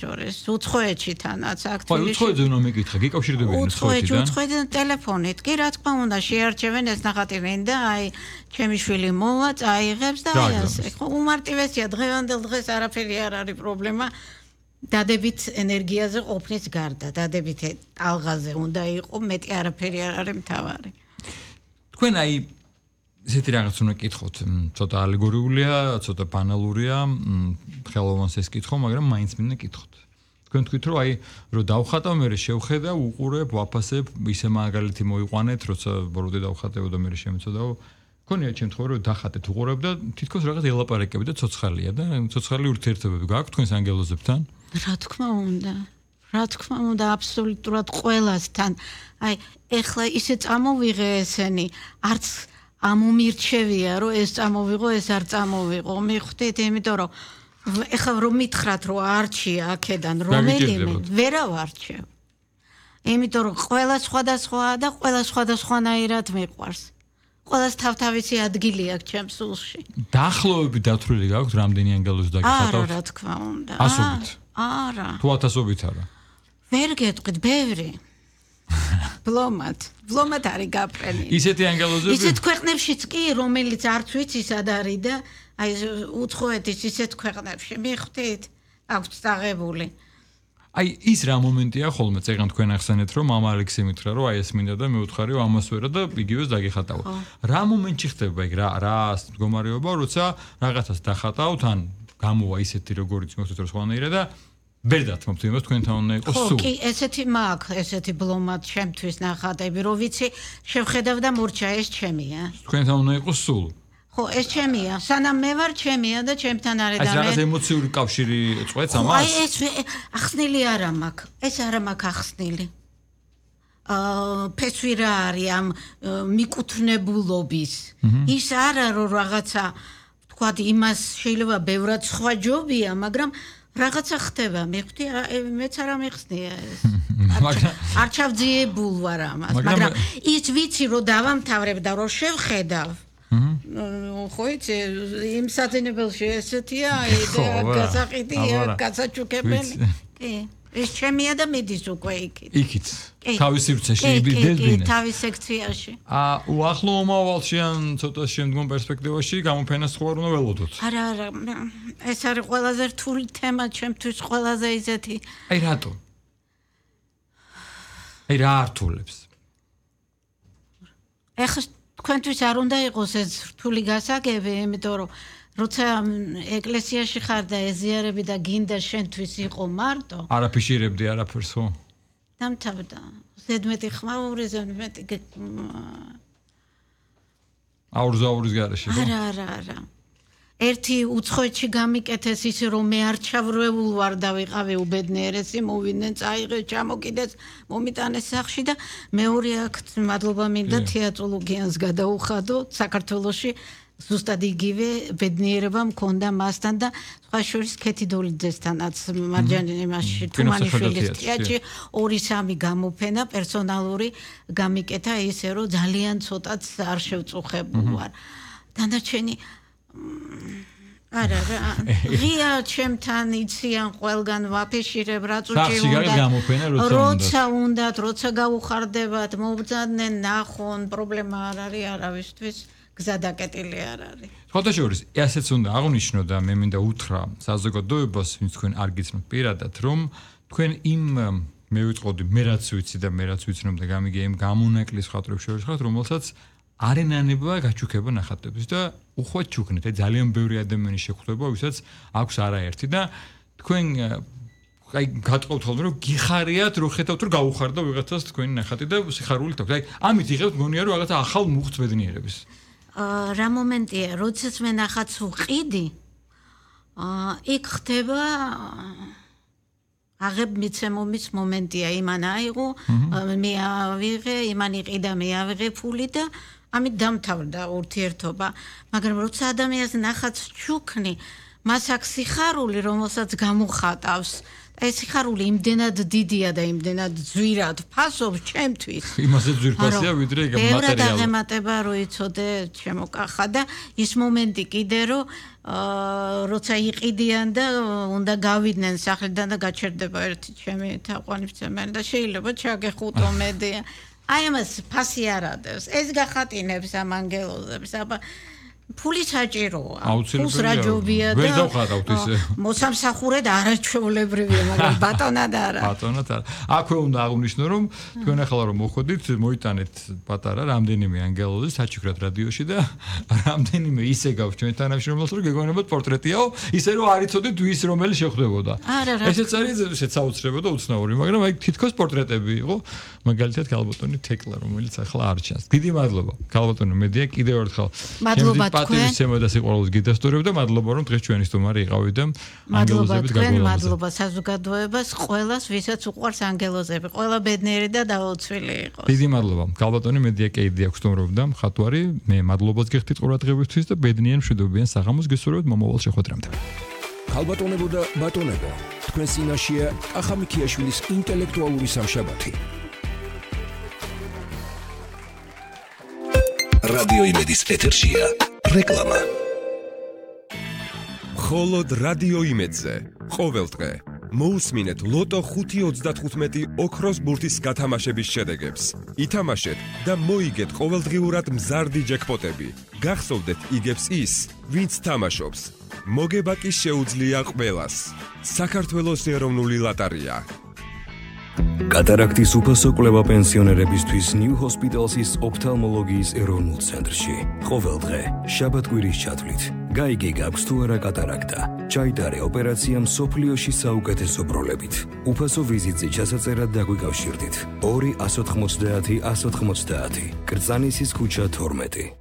შორის უცხოეთში თანაც აქ თბილისში. ხო, უცხოეთზე უნდა მეკითხა, გიკავშირდებიან უცხოეთიდან. უცხოეთიდან ტელეფონით. კი, რა თქმა უნდა, შეარჩევენ ეს ნახატი და აი ჩემი შვილი მოვა, წაიღებს და აი ასე. ხო, უმარტივესია დღევანდელ დღეს არაფერი არ არის პრობლემა. დადებით ენერგიაზე ყოფნის გარდა, დადებით ტალღაზე უნდა იყო, მეტი არაფერი არ არის მთავარი. თქვენ აი ესეთი რაღაც უნდა გკითხოთ, ცოტა ალეგორიულია, ცოტა ბანალურია, ხელოვანს ეს კითხო, მაგრამ მაინც მინდა გკითხოთ. თქვენ თქვით, რომ აი, რომ დავხატავ, მე შევხედავ, უყურებ, ვაფასებ, ისე მაგალითი მოიყვანეთ, როცა ბოროტე დავხატებო და მე შემეცოდაო. გქონია შემთხვევა, რომ დახატეთ, უყურებ და თითქოს რაღაც ელაპარაკები და ცოცხალია და ცოცხალი ურთიერთობები გააქვთ თქვენს ანგელოზებთან? რა თქმა უნდა, აბსოლუტურად ყველასთან. აი, ეხლა ისე წამოვიღე ესენი, არც ამომირჩევია, რომ ეს წამოვიღო, ეს არ წამოვიღო. მიხვდით, იმიტომ რომ ეხლა რომ მითხრათ, რომ არჩია აქედან რომელიმე, ვერა ვარჩევ. იმიტომ რომ ყველა სხვადასხვაა და ყველა სხვადასხვანაირად მიყვარს. ყველას თავთავისი ადგილი აქვს ჩემს სულში. დაახლოებით დათვლილი გაქვთ, რამდენი ანგელოზი დაგიხატავთ? არა, რა თქმა უნდა. ასობით. არა. თუ ათასობით არა. ვერ გეტყვით, ბევრი. ბლომად არის გაფრენი. ისეთი ანგელოზები? ისეთ ქვეყნებშიც კი, რომელიც არც ვიცი სად არის და აი უცხოეთის ისეთ ქვეყნებში მიხვდით, აქვთ წაღებული. აი ის რა მომენტია ხოლმე წეგან თქვენ ახსენეთ რომ მამა ალექსი მითხრა რომ აი ეს მინდა და მე ვუთხარი რომ ამას ვერა და იგივეს დაგიხატავ. რა მომენტში ხდება იქ რა მდგომარეობა როცა რაღაცას დახატავთ ან გამოვა ისეთი როგორიც მოხდეთ რომ სხვანაირად და ვერ დათმობთ იმას თქვენთან უნდა იყოს სულ. ხო, კი, ესეთი მაქვს, ესეთი ბლომად შემთვის ნახატები, რომ ვიცი, შევხედავ და მურჩა ეს ჩემია. თქვენთან უნდა იყოს სულ. ხო, ეს ჩემია. სანამ მე ვარ ჩემია და ჩემთან არის და მე. ეს რაღაც ემოციური კავშირი წყვეტს ამას? აი ეს ახსნილი არა მაქვს. ეს არა მაქვს ახსნილი. ფესვი რა არის ამ მიკუთვნებულობის. ის არა რომ რაღაცა თქვათ იმას შეიძლება ბევრად სხვა ჯობია, მაგრამ რაღაცა ხდება, მიხვდი, მეც არ ამეხსნია ეს. არჩავძიებულ ვარ ამას, მაგრამ ის ვიცი რომ დავამთავრებ და რომ შევხედავ. ხო იცი, იმ საძინებელში ესეთია, გასაყიდია, გასაჩუქებელი. კი, ეს ჩემია და მიდის უკვე იქით. იქით. თავის სივრცეში იბიძებდნენ. კი, თავის სექციაში. უახლო მომავალში ან ცოტა შემდგომ პერსპექტივაში გამოფენას სხვა უნდა ველოდოთ. არა, ეს არის ყველაზე რთული თემა ჩემთვის, ყველაზე ისეთი. აი რატო? აი რა რთულებს? ეხლა თქვენთვის არ უნდა იყოს ეს რთული გასაგები, იმიტომ რომ როცა ეკლესიაში ხარ და ეზიარები და გინდა შენთვის იყო მარტო. არ აფიშირებდი არაფერს ხო? დამთავრდა. ზედმეტი ხმაური, ზედმეტი აურის გარეშე ხო? არა. ერთი უცხოეთში გამიკეთეს ისე რომ მე არჩევრეულ ვარ და ვიყავი უბედნიერესი, მოვიდნენ, წაიღე, ჩამოკიდეს, მომიტანეს სახში და მეორე აქ მადლობა მინდა თეატროლოგიანს გადაუხადო საქართველოში. ზუსტად იგივე ბედნიერება მქონდა მასთან და სხვა შორის ქეთი დოლიძესთანაც მარჯანიმაში თუმანიშვილის თეატრში 2-3 გამოფენა პერსონალური გამიკეთა ისე რომ ძალიან ცოტაც არ შევწუხებულ ვარ. დანარჩენი არა ღია ჩემთან იციან ყველგან ვაფიშირებ რაც როცა გაუხარდებათ მობრძადნენ ნახონ პრობლემა არ არის არავისთვის გზადაკეტილი არ არის. სხვათა შორის ასეც უნდა აღნიშნო და მე მინდა უთხრა საზოგადოებას ვინც თქვენ არ გიცნობთ პირადად რომ თქვენ იმ მე ვიტყოდი მე რაც ვიცი და მე რაც ვიცნობ და გამიგე იმ გამონაკლის ხატრებს შორის ხართ რომელსაც არენანება გაჩუქება ნახატებს და უხვად ჩუქნით ძალიან ბევრი ადამიანის შეხვდება ვისაც აქვს არაერთი და თქვენ აი გატყობთ ხოლმე რომ გიხარიათ რომ ხედავთ რომ გაუხარდა ვიღაცას თქვენი ნახატი და სიხარულით აქვს აი ამით იღებთ გონია რომ რაღაცა ახალ მუხტს ბედნიერების რა მომენტია როდესაც მე ნახატს ვყიდი იქ ხდება აღებ მიცემომის მომენტია იმან აიღო მე ავიღე იმან იყიდა მე ავიღე ფული და ამით დამთავრდა ურთიერთობა მაგრამ როცა ადამიანს ნახატს ჩუქნი მას აქვს სიხარული რომელსაც გამოხატავს ეს სიხარული იმდენად დიდია და იმდენად ძვირად ფასობს ჩემთვის. იმაზე ძვირფასია ვიდრე მატერიალი. ბევრად მატერიალი. აღემატება რო იცოდე ჩემო კახა და ის მომენტი კიდე რომ როცა იყიდიან და უნდა გავიდნენ სახლიდან და გაჩერდება ერთი ჩემი თაყვანისმცემელი და შეიძლება ჩაგეხუტო მედი. აი ამას ფასი არ ადევს. ეს გახატინებს ამ ანგელოზებს, აბა ფული საჭიროა. ფულს რაჯობია და ვერ დავხატავთ ისე. მოსამსახურედ არაჩვეულებრივია, მაგრამ ბატონად არა. ბატონად არა. აქვე უნდა აღვნიშნო, რომ თქვენ ახლა რომ მოხვედით, მოიტანეთ პატარა რამდენიმე ანგელოზი საჩუქრად რადიოში და რამდენიმე ისე გაქვს ჩვენ თანამშრომლებს, რომ გეგონებათ პორტრეტიაო, ისე რომ არ იცოდით ვის რომელი შეხვდებოდა. ესეც არის ესეც აუცილებელი და უცნაური, მაგრამ აი თითქოს პორტრეტები იყო, მაგალითად ქალბატონი თეკლა, რომელიც ახლა არ ჩანს. დიდი მადლობა. ქალბატონი მედია კიდევ ერთხელ. მადლობა პატივის ცემა და სიყვარულს გიდასტურებ და მადლობა რომ დღეს ჩვენი სტუმარი იყავით და ანგელოზებით გაგვივლამაზეთ. მადლობა საზოგადოებას, ყველას, ვისაც უყვარს ანგელოზები, ყველა ბედნიერი და დაუცვილი იყოს. დიდი მადლობა. ქალბატონი მედია კეიდი აქვს სტუმრობდა მხატვარი. მე მადლობას გიხდით ყურადღებისთვის და ბედნიერ მშვიდობიან საღამოს გესურვებთ მომავალ შეხვედრამდე. ქალბატონებო და ბატონებო, თქვენ წინაშეა კახა მიქიაშვილის ინტელექტუალური სამშაბათი. რადიო იმედის ეთერშია რეკლამა. მხოლოდ რადიო იმედზე ყოველ დღე მოусმინეთ ლოტო 5.35 ოქროს ბურთის გათამაშების შედეგებს. ითამაშეთ და მოიგეთ ყოველდღიურად მზარდი ჯეკპოტები. გახსოვდეთ იგებს ის, ვინც თამაშობს. მოგება კი შეუძლია ყველას. საქართველოს ეროვნული ლოტარია. კატარაქტის უფასო კვლევა პენსიონერებისთვის New Hospital's ოფთალმოლოგიის ეროვნულ ცენტრში. ყოველ დღე შაბათ-კვირის ჩათვლით გაიგე გაქვს თუ არა კატარაქტა. ჩაიტარე ოპერაცია მსოფლიოში საუკეთესო ბროლებით. უფასო ვიზიტზე ჩასაწერად დაგვიკავშირდით. 2-190-190 კრწანისის ქუჩა 12.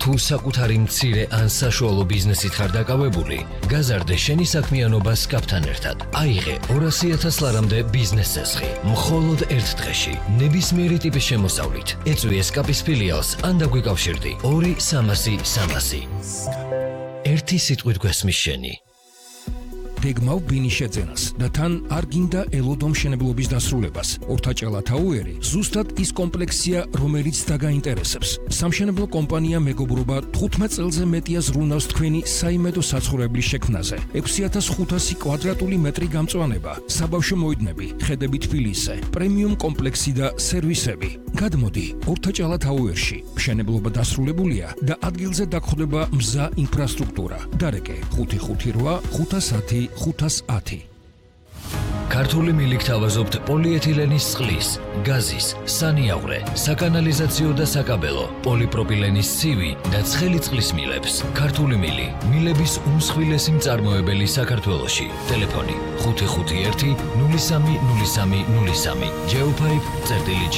თუ საკუთარი მცირე ან საშუალო ბიზნესით ხარ დაკავებული, გაზარდე შენი საქმიანობა SCAP-თან ერთად. აიღე 200,000 ლარამდე ბიზნეს წესხი, მხოლოდ ერთ დღეში, ნებისმიერი ტიპის შემოსავლით. ეწვი SCAP-ის ფილიალს ან დაგვიკავშირდი 2-300-300. ერთი სიტყვით გვესმის შენი. გეგმავ ბინის შეძენას და თან არ გინდა ელოდო მშენებლობის დასრულებას. ორთაჭალა თაუერი ზუსტად ის კომპლექსია, რომელიც დაგაინტერესებს. სამშენებლო კომპანია მეგობრობა 15 წელზე მეტია ზრუნავს თქვენი საიმედო საცხოვრებლის შექმნაზე. 6500 კვადრატული მეტრი გამწვანება, საბავშვო მოედნები, ხედები თბილისზე, პრემიუმ კომპლექსი და სერვისები. გადმოდი ორთაჭალა თაუერში. მშენებლობა დასრულებულია და ადგილზე დაგხვდება მზა ინფრასტრუქტურა. დარეკე 558 510 510. ქართული მილიქ თავაზობთ პოლიეთილენის წყლის, გაზის, სანიავრე, საკანალიზაციო და საკაბელო, პოლიპროპილენის ცივი და ცხელი წყლის მილებს. ქართული მილი, მილების უმსხვილესი მწარმოებელი საქართველოში. ტელეფონი 551 030303. Geopipe.g.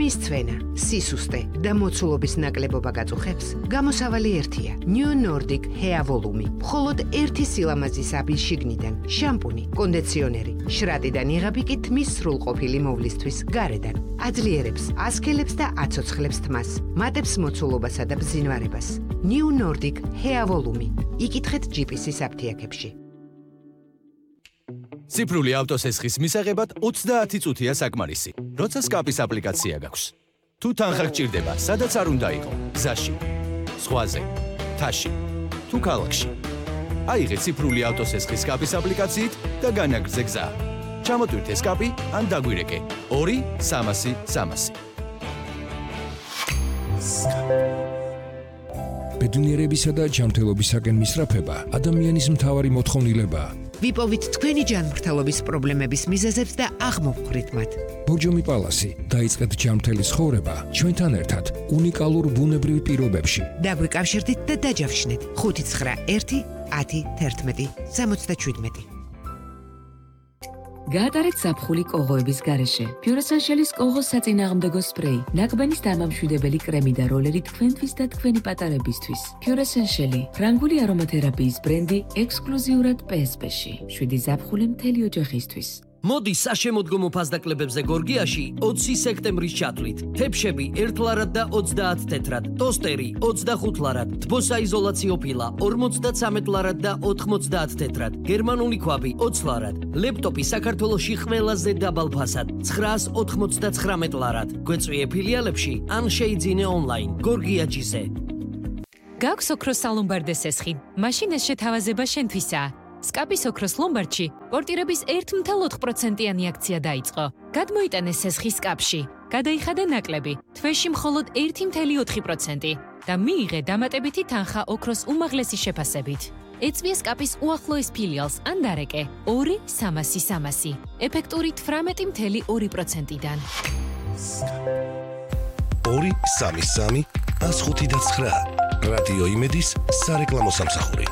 თმის ცვენა, სისუსტე და მოცულობის ნაკლებობა გაწუხებს, გამოსავალი ერთია. New Nordic Hair Volume. მხოლოდ ერთი სილამაზის აბის შიგნიდან, შამპუნი, კონდიციონერი, შრატიდან იღები კი თმის სრულყოფილი მოვლისთვის გარედან. აძლიერებს, ასქელებს და აცოცხლებს თმას, მატებს მოცულობასა და ბზინვარებას. New Nordic Hair Volume. იკითხეთ GPS-ის აფთიაქებში. ციფრული ავტოსესხის მისაღებად 30 წუთია საკმარისი. როცა SCAP-ის აპლიკაცია გაქვს. თუ თანხა გჭირდება, სადაც არ უნდა იყო, გზაში, ზღვაზე, მთაში, თუ ქალაქში. აიღე ციფრული ავტოსესხის SCAP-ის აპლიკაციით და განაგრძე გზა. ჩამოტვირთე SCAP-ი ან დაგვირეკე 2-300-300. ბედნიერებისა და ჯანმრთელობისაკენ მისწრაფება ადამიანის მთავარი მოთხოვნილებაა. ვიპოვით თქვენი ჯანმრთელობის პრობლემების მიზეზებს და აღმოვხვრით მათ. ბორჯომი პალასი, დაიწყეთ ჯანმრთელი ცხოვრება ჩვენთან ერთად უნიკალურ ბუნებრივ პირობებში. დაგვიკავშირდით და დაჯავშნეთ 591 10 11 77. გაატარეთ ზაფხული კოღოების გარეშე. Pure-Essentials კოღოს საწინააღმდეგო სპრეი, ნაკბანის დამამშვიდებელი კრემი და როლერი თქვენთვის და თქვენი პატარებისთვის. Pure-Essentials, ფრანგული არომათერაპიის ბრენდი ექსკლუზიურად PSP-ში. 7 ზაფხული მთელი ოჯახისთვის. მოდი საშემოდგომო ფასდაკლებებზე გორგიაში 20 სექტემბრის ჩათვლით. თეფშები 1 ლარად და 30 თეთრად, ტოსტერი 25 ლარად, თბოსაიზოლაციო ფილა 53 ლარად და 90 თეთრად, გერმანული ქვაბი 20 ლარად, ლეპტოპი საქართველოში ყველაზე დაბალ ფასად 999 ლარად. გვეწვიე ფილიალებში ან შეიძინე ონლაინ. გორგიაჯიზე. გაქვს ოქროს სალომბარდეს ესხი. მაშინ ეს შეთავაზება შენთვისაა. სკაპის ოქროს ლომბარდში პორტირების 1.4%-იანი აქცია დაიწყო. გადმოიტანეს ესხი სკაპში. გადაიხადა ნაკლები, თვეში მხოლოდ 1.4% და მიიღე დამატებითი თანხა ოქროს უმაღლესი შეფასებით. ეწვია სკაპის უახლოეს ფილიალს ან დარეკე 2-300-300, ეფექტური 18.2%-დან. 2-3-3-105-9 რადიო იმედის სარეკლამო სამსახური.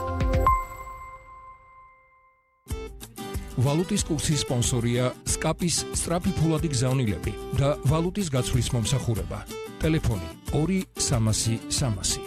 ვალუტის კურსის სპონსორია სკაპის სწრაფი ფულადი გზავნილები და ვალუტის გაცვლის მომსახურება. ტელეფონი 2-300-300.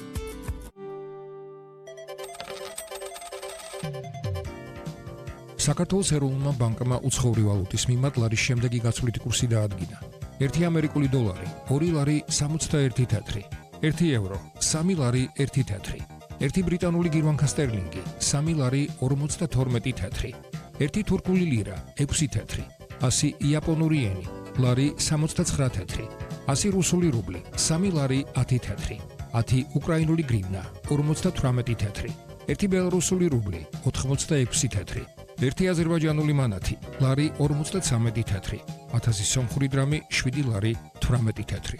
საქართველოს ეროვნულმა ბანკმა უცხოური ვალუტის მიმართ ლარის შემდეგი გაცვლითი კურსი დაადგინა. 1 ამერიკული დოლარი 2 ლარი 61 თეთრი, 1 ევრო 3 ლარი 1 თეთრი, 1 ბრიტანული გირვანქა სტერლინგი 3 ლარი 52 თეთრი, 1 თურქული ლირა 6 თეთრი, 100 იაპონური ენი ლარი 69 თეთრი, 100 რუსული რუბლი 3 ლარი 10 თეთრი, 10 უკრაინული გრივნა 58 თეთრი, 1 ბელარუსული რუბლი 86 თეთრი, 1 აზერბაიჯანული მანათი ლარი 53 თეთრი, 1000 სომხური დრამი 7 ლარი 18 თეთრი.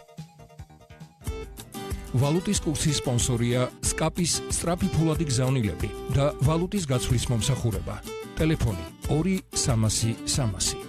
ვალუტის კურსის სპონსორია სკაპის სწრაფი ფულადი გზავნილები და ვალუტის გაცვლის მომსახურება. ტელეფონი 2-300-300.